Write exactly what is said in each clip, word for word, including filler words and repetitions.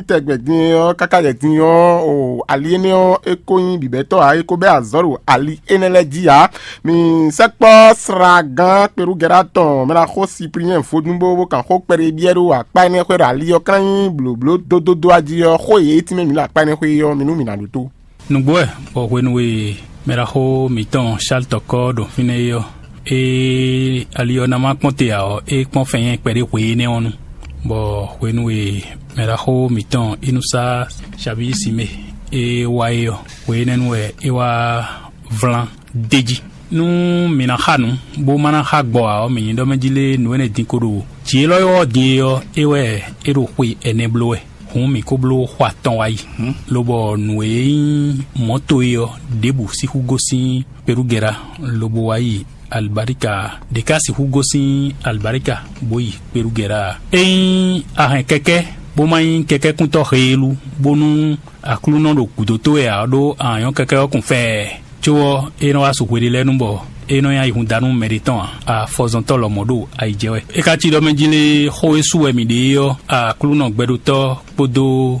Tɛgbɛ din ɔ́, káká jɛ din ɔ́, o ali énɛ́ ɔ́, é ko nyí bǐbɛ́tɔ́ ǎ, é ko bɛ́ azɔ̌ ɖo ali énɛ́ lɛ́ɛ jí ǎ. Mi sɛkpɔ́ slagán kpelúgɛ́ɖá tɔn mɛ ná xó Sipliyɛ́n vodún bó bó kan xó kpɛɖé byɔ́ ɖó akpá énɛ́ xwé ɖo ali ɔ́ klán nyí blǒbló dódódó a jí ɔ́, xó e yě tínmɛ mǐ ɖo akpá énɛ́ xwé ɔ́, mi nú mǐ ná ɖótó. Nǔgbó wɛ, bɔ hwenu e mɛɖaxó mǐtɔn Sáltɔkɔ ɖo fínɛ́ é ɔ́, é ali ɔ́ ná má kpɔ́n te ǎ ɔ́, é kpɔ́n fɛnnyɛ́ kpɛɖé hwe énɛ́ ɔ́ nu, bɔ hwenu e mɛɖaxó mǐtɔn Inúsá Sabíyi Simée é wá é ɔ́, hwe énɛ́ nu wɛ é wá vlan d'é jí. Nú mǐ ná xa nǔ, bó má ná xa gbɔ ǎ ɔ́, mǐ nyí ɖɔ mɛ jí lé nǔ énɛ́ din ko ɖo jǐ élɔ́ ɔ́ din é ɔ́, é wɛ é ɖo xwe ɛnɛ bló wɛ. Hǔn mǐ ko bló xɔ atɔn wá yi, lobɔ nǔ e nyí mɔ̌to é ɔ́, ɖěbǔ sixú gosín Perugɛla, lobo wá yi Alibarika, ɖě ka sixú gosín Alibarika bó yi Perugɛla ǎ. Ényí a hɛn kɛkɛ́, bó má nyí kɛkɛ́kúntɔ́ heelú, bónú Aklúnɔ ɖo gǔdo towe ǎ, ɖó a nyɔ́ kɛkɛ́ ɔ́ kun fɛɛ. Có ɔ́, é nɔ wá su hweɖé lɛ́ɛ nu bɔ é nɔ nyi ayihúndánú mɛɖé tɔn ǎ, afɔzɔntɔ́ lɔmɔ̌ ɖo ayi jɛ wɛ. É ka cí ɖɔ mɛ jí lé xó e su wɛ mǐ ɖe é ɔ́, Aklúnɔ gbɛɖótɔ́ kpódó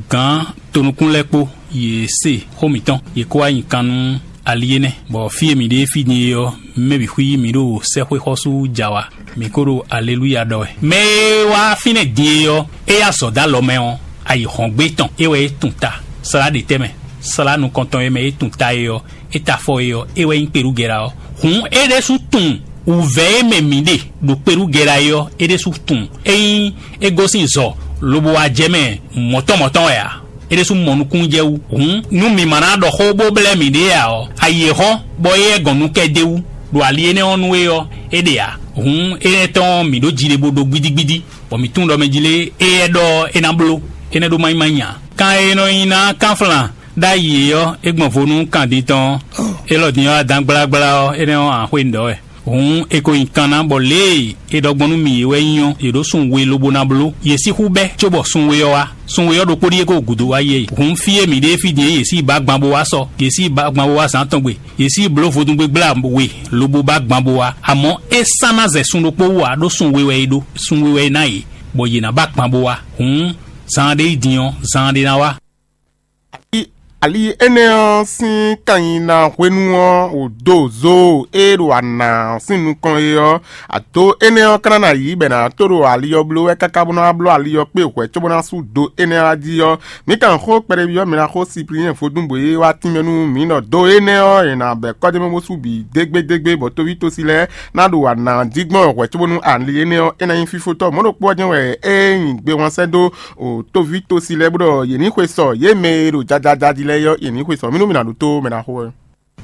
gǎn tonukún lɛ́ɛ kpó, yě se xó mǐtɔn, yě kó wá nyi kan nú ali énɛ́, bɔ fí e mǐ ɖe fí din é ɔ́, mɛ bǐ xwí mǐ ɖo sɛ́xwé xɔ́sú jɛ awa, mǐ ko ɖo aleluya ɖɔ wɛ. Mɛ e wá fínɛ́ din é ɔ́, é yá azɔ̌ dó alɔ mɛ ɔ́, ayǐhɔ́ngbe tɔn é wɛ é tun ta, slá ɖě tɛ́ mɛ, slá nukɔntɔn e mɛ é tun ta é ɔ́, é ta afɔ é ɔ́, é wɛ nyí kpelúgɛ́la ɔ́. Hǔn é ɖésú tunwun wǔvɛ́ e mɛ mǐ ɖe ɖo kpelúgɛ́la é ɔ́, é ɖésú tunwun. Ényí é gosín zɔ lobo wá jɛ mɛ mɔ̌tɔn mɔ̌tɔn wɛ ǎ, é ɖésú mɔ nukúnnú jɛ wú. Hǔn nú mǐ ma ná ɖɔ xó bó blɛ́ mǐɖée ǎ ɔ́, ayi e hɔ́n bɔ é yɛ gɔn nú kɛ d'é wú ɖo ali énɛ́ ɔ́ nu é ɔ́, é ɖe ǎ. Hǔn énɛ́ tɔn ɔ́, mǐ ɖó ji ɖé bó ɖó gbídígbídí, bɔ mǐ tunwun ɖɔ mɛ jí lé é yɛ ɖɔ é ná bló, énɛ́ ɖó má nyí má nya. Kan e nɔ nyi ná kánflán ɖ'ayǐ é ɔ́, é gbɔn vo nú kan din tɔn ɔ́. Élɔ́ din ɔ́, adǎn gblágbla ɔ́, énɛ́ ɔ́, an xwé nǔ ɖɔ wɛ. Hǔn è ko nyi kan ná, bɔ lě e è ɖɔ gbɔn nú mì é wɛ nyí ɔ́, yě ɖó sun we lobo ná bló. Yě sixú bɛ́ cóbɔ sun we ɔ́ wá. Sun we ɔ́ ɖokpó ɖíe ko gǔdo wá yi é. Hǔn fí e mǐ ɖe fí din é, yě sí yi ba gban bó wá sɔ, yě sí yi ba gban bó wá zǎn tɔn gbe, yě sí yi bló vodúngbe gbla we lobo ba gban bó wá. Amɔ̌ é sán ná zɛ sun ɖokpó wú ǎ, ɖó sun we wɛ é ɖó, sun we wɛ é ná yě, bɔ yě ná ba gban bó wá. Hǔn zaan ɖé yi din ɔ́, zaan ɖé ná wá. Ali énɛ́ ɔ́ sín kannyina hwenu ɔ́, wǒ dó zo e ɖo ana sín nukɔn é ɔ́, ado énɛ́ ɔ́ ka ná ná yí bɔ è nǎ tó ɖo ali ɔ́ bló wɛ káká bó ná wá bló ali ɔ́ kpé hwɛ̌ cóbó ná sú do énɛ́ ɔ́ jí ɔ́, mǐ kan xó kpɛɖéví ɔ́, mǐ ná xó Sipliyɛ́n vodún bɔ é wá tínmɛ nú mǐ ɖɔ do énɛ́ ɔ́, è nǎ bɛ̌ kɔ́ d'é mɛ bó sú bǐ dégbédégbé, bɔ tóví tosi lɛ́ɛ ná ɖo ana jí gbɔn hwɛ̌ cóbónú ali énɛ́ ɔ́, é ná nyí fífótɔ́. Mɔ̌ ɖokpó ɔ́ jɛ́n wɛ é nyi gbe wán sɛ́ dó o tóví tosi lɛ́ɛ bó ɖɔ yě ní xwe sɔ, yě mɛ e ɖo jajaja jí lɛ́ɛ ɔ́, yě ní xwe sɔ. Mí nú mi ná ɖótó mɛ ná xo wɛ.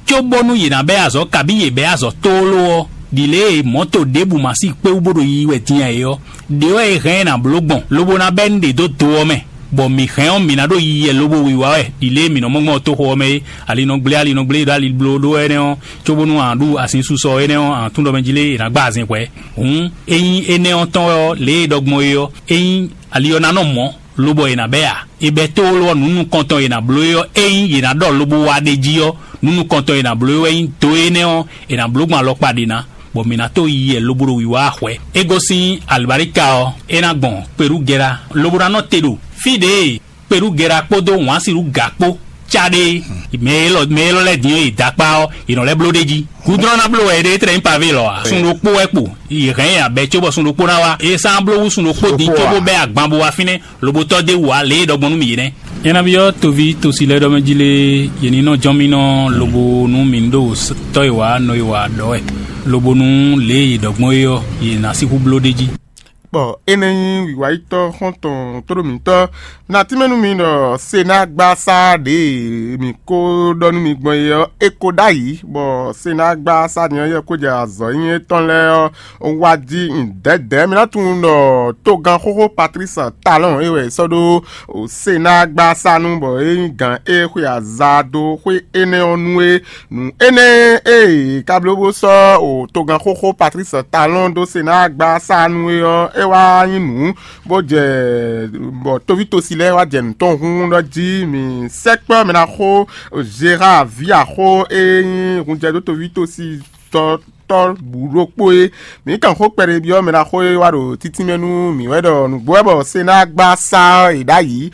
Cóbónú yě ná bɛ́ azɔ̌, kabí yě bɛ́ azɔ̌ tlóló ɔ́, ɖi lě e mɔ̌to ɖěbǔ ma sí kpé wú bó ɖo yiyi wɛ din ǎ é ɔ́, ɖě wɛ è hɛn ɛ nǎ bló gbɔn, lobo ná bɛ́ nǔɖé dó do ɔ́ mɛ, bɔ mǐ hɛn ɔ́, mǐ ná ɖo yiyi wɛ lobo wiwa wɛ, ɖi lě e mǐ nɔ mɔ gbɔn toxo ɔ́ mɛ é. Ali nɔ gblé, ali nɔ gblé ɖo ali bló ɖó énɛ́ ɔ́, cóbónú a ɖu azinsusɔ énɛ́ ɔ́, a tún ɖɔ mɛ jí lé è nǎ gba azin hwɛ̌. Hǔn, ényí énɛ́ ɔ́ tɔn wɛ ɔ́, lě e è ɖɔ gbɔn é ɔ́, ényí ali ɔ́ ná nɔ mɔ̌, lobɔ è nǎ bɛ́ ǎ. È bɛ́ tlóló ɔ́, nǔ nukɔntɔn e è nǎ bló é ɔ́, ényí yě ná ɖɔ lobo wá ɖ'é jí ɔ́, nǔ nukɔntɔn e è nǎ bló é wɛ nyí do énɛ́ ɔ́, è nǎ bló gbɔn alɔkpa ɖě ná, bɔ mǐ ná tó yi yɛ lobo ɖo wǐwá wá hwɛ̌. É gosín alibáríka ɔ́, é ná gbɔn Perugɛla, lobo ná nɔ te ɖo fí ɖě e Perugɛla kpódó wǎnsiɖú gǎ kpó cá ɖe é. Mɛ élɔ́ mɛ élɔ́ lɛ́ɛ din ɔ́, yě dó akpá ɔ́, yě nɔ lɛ́ bló ɖ'é jí. Gúdrɔ́n ná bló wɛ é ɖe é tlɛ nyí pavé lɔ ǎ. Sun ɖokpó wɛ kpo, yě hɛn ɛ abɛ cóbɔ sun ɖokpó ná wá. É sán bló wú sun ɖokpó din cóbó bɛ́ agban bó wá fínɛ́. Lobotɔ́ dé wǔ ǎ, lě e ɖɔ gbɔn nú mì é nɛ́. Nyɛ nabí ɔ́, toví tosi lɛ́ɛ ɖɔ mɛ jí lé, yě ní nɔ jɔ́n mì nɔ lobo nú mǐ ní ɖo tɔ́ e wǎ nɔ e wǎ ɖɔ wɛ, lobo nú lě e yě ɖɔ gbɔn é ɔ́, yě ná sixú bló ɖ'é jí. Bɔ énɛ́ nyí wǐwáyítɔ́ xɔ́ntɔn tóɖó mǐtɔn. Nǎ tínmɛ nú mi ɖɔ senágbasá ɖě e mǐ ko ɖɔ nú mi gbɔn é ɔ́, é ko ɖ'ayǐ, bɔ senágbasá din ɔ́ yɛ ko jɛ azɔ̌ nyi étɔn lɛ́ɛ ɔ́ wá jí dɛ̌dɛ̌. Mi ná tunwun ɖɔ togán xóxó Patlísi Talɔ́ɔn é wɛ è sɔ́ ɖó senágbasá nu, bɔ é nyí gǎn e xwe aza dó xwé énɛ́ ɔ́ nu é. Nǔ énɛ́ e è ka bló bó sɔ́ o togán xóxó Patlísi Talɔ́ɔn dó senágbasá nu é ɔ́, é wá nyí nǔ bó jɛ bɔ tóví tosi lɛ́ɛ wá jɛ nǔ tɔn hun ɖɔ jí mǐ sɛkpɔ́ mɛ ná xó Zera ví axó e nyí hunjɛdó tóví tosi tɔ́ tɔ́ bǔ ɖokpó é. Mǐ kan xó kpɛɖé byɔ́ mɛ ná xó e wá ɖo títínmɛ nú mǐ wɛ ɖɔ nǔgbó wɛ bɔ senágbasá ɔ́ è ɖ'ayǐ,